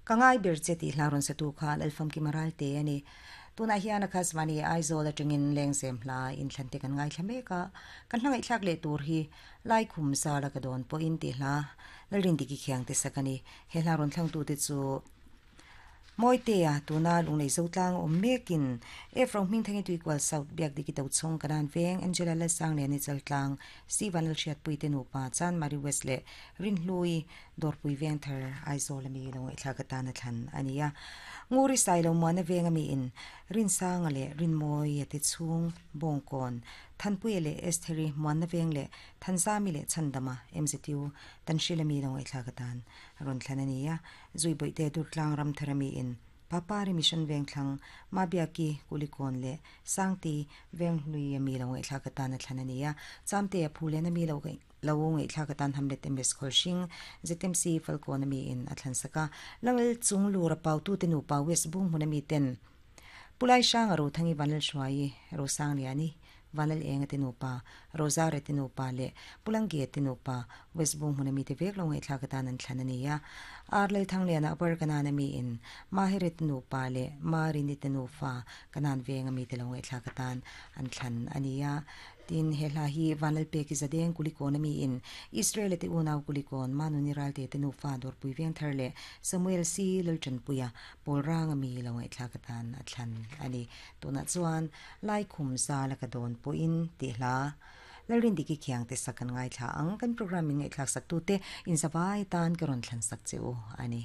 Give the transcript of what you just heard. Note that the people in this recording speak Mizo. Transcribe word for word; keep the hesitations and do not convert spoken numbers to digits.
Kangai ber che ti hlaron sa tu kha lalfam ki maral te ani tuna hian a khasmani Aizawl atangin lengzem hla in thlante kan ngai thlameka kan hlangai thlak le tur hi lai khum sa la ka don po in ti hla lalrin diki khiang te sakani he hla ron thlang tu te chu Moitea tuna lunglei zotlang awm mekin Efro hming thangi tuikual South biak diki to chhong kanan veng Angela la sang le ni chaltlang Steven lal hriat pui te nupa Chan Mari West le Rin Hlui Dorpui veng thar Aizawl ami lo ngai thla ka tan a thlan ania nguri sai lo muana veng ami in Rin Sanga le Rin Moi te chhung Bongkon Thanpui le Estheri muana veng le Thanzami le Chandama M Z U Tanshilami lo ngai thla ka tan ron thlan ania zui boite durtlang ram tharami in Papari Mission veng thlang Mabiaki kulikon le Sangti veng hlui ami lo ngai thla ka tan a thlan ania chamte a phule na mi lo lo ngai thla ka tan hamlet M S Kholshing Z M C Falcon ami in a thlan saka langel chung lu ra pau tu te nu pa West bung hun ami ten Pulai sang ro thangi vanal shwai ro sang liani vanal enga te nupa roza re te nupa le pulangge te nupa West bung hun ami te vek lo ngai thla ka tan an thlan ania arlel thang le na upper kanan ami in mahire te nupa le marini te nufa kanan veng ami te lo ngai thla ka tan an thlan ania tin hela hi vanal pe ki zadeng kulikon ami in Israel te unaw kulikon manuni ral te te nufa dor pui veng thar le Samuel C lalchan puya polrang ami lo ngai thla ka tan a thlan ani tuna chuan lai khum za la ka don po in ti hla lalrin diki khiang te sakan ngai thla ang kan programming ngai thlak sak tu te in zawai tan ka ron thlan sak cheu ani.